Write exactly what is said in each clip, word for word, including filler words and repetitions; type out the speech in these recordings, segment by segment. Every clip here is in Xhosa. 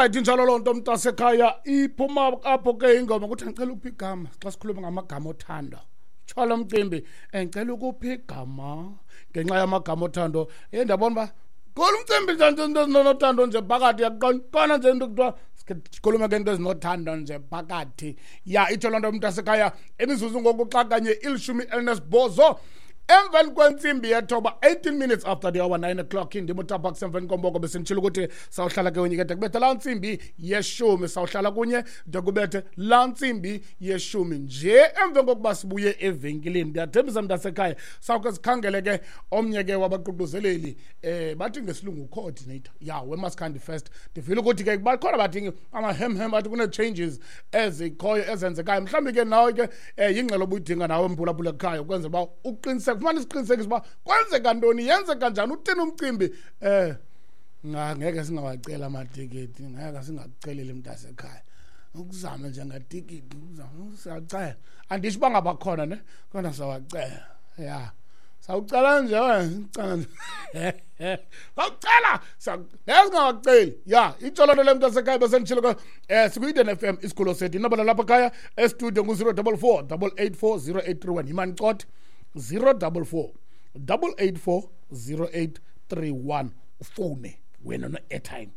Alright, injalo loo nto mntasekhaya. Iphuma apho ke ingoma kuthi ngicela ukupha igama. Xa sikhuluma ngamagama othando, tsho mcimbi, ngicela ukupha igama ngenxa yamagama othando. Eh ndiyabona uba kulo mcimbi nje into ezinothando nje phakathi, yaqona nje into kuthiwa sikhulume ngento ezinothando nje phakathi. Ya, itsho loo nto mntasekhaya. Imizuzu ngoku xa kanye ilishumi elinesibhozo emveni kwentsimbi yethoba, eighteen minutes after the hour nine o'clock. Indim uTabax emveni komboko. Besenditshilo ukuthi sawuhlala ke kunye ke de kubethe laa ntsimbi yeshumi, sawuhlala kunye de kubethe laa ntsimbi yeshumi nje emveni kokuba sibuye evenkileni. Ndiyathembisa mntasekhaya, sawuke sikhangele ke omnye ke wabaququzeleli, eh bathi ngesilungu coordinator ya weMaskandi Fest. Ndivile ukuthi ke bakhona bathi amahemhem, bathi kunee-changes ezikhoyo ezenzekayo. Mhlawumbi ke nawe ke um yingxelo obuyidinga nawe mphulaphula ekhaya, ukwenzela uba uqiniseke, ufumane isiqinisekiso uba kwenzeka ntoni, yenzeka njani, uthini umcimbi. Eh ngeke singawacela amatikiti, ngeke singakuceleli mntasekhaya, ukuzame nje ngatikiti, siyacela. Andisho uba ngabakhona ne, kodwa sawacela. Ya, sawucela nje wena, cela nje, sawucela, ngeke singawaceli. Ya, itsho loo nto le mntasekhaya. Besenditshilo ke, um sikwi-Eden F M, isigulo sethu. Inombolo lapha ekhaya estudio ngu-zero double four double eight four zero eight three one. Yimani cote, zero double four double eight four zero eight three one. Ufowune wena one-airtime,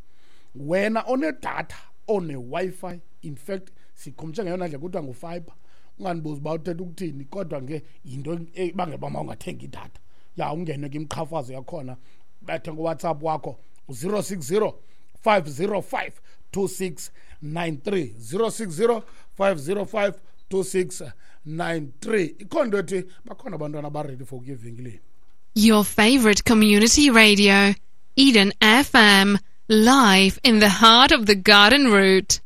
wena onedatha, one-Wi-Fi. In fact sikhumtshe ngeyona ndlela kuthiwa ngu-fiber. Ungandibuzi uba uthetha ukuthini, kodwa ke yinto ebangela uba mawungathengi idatha. Ya, ungene ke imiqhafazo yakhona, bethe ngoWhatsApp wakho zero six zero five zero five two six nine three, zero six zero five zero five two six nine three. Ikhona into ethi bakhona abantwana abaready for ukuya evenkileni. Your favorite community radio, Eden F M, live in the heart of the Garden Route.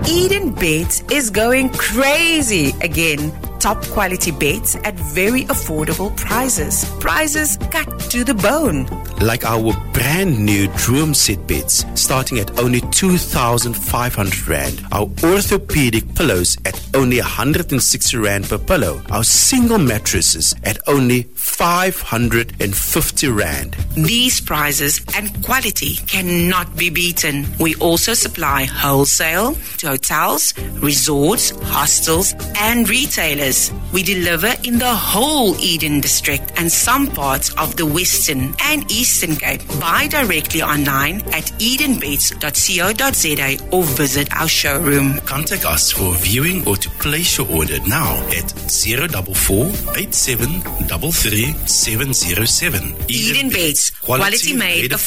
Eden Beds is going crazy again. Top quality beds at very affordable prices. Prices cut to the bone. Like our brand new Droom set beds starting at only two thousand five hundred rand. Our orthopedic pillows at only a hundred and sixty rand per pillow. Our single mattresses at only five hundred and fifty rand. These prices and quality cannot be beaten. We also supply wholesale to hotels, resorts, hostels and retailers. We deliver in the whole Eden district and some parts of the Western and Eastern Cape. Buy directly online at eden beds dot co dot za or visit our showroom. Contact us for viewing or to place your order now at zero double four eight seven double three seven zero seven. Eden Beds, quality, quality made affordable.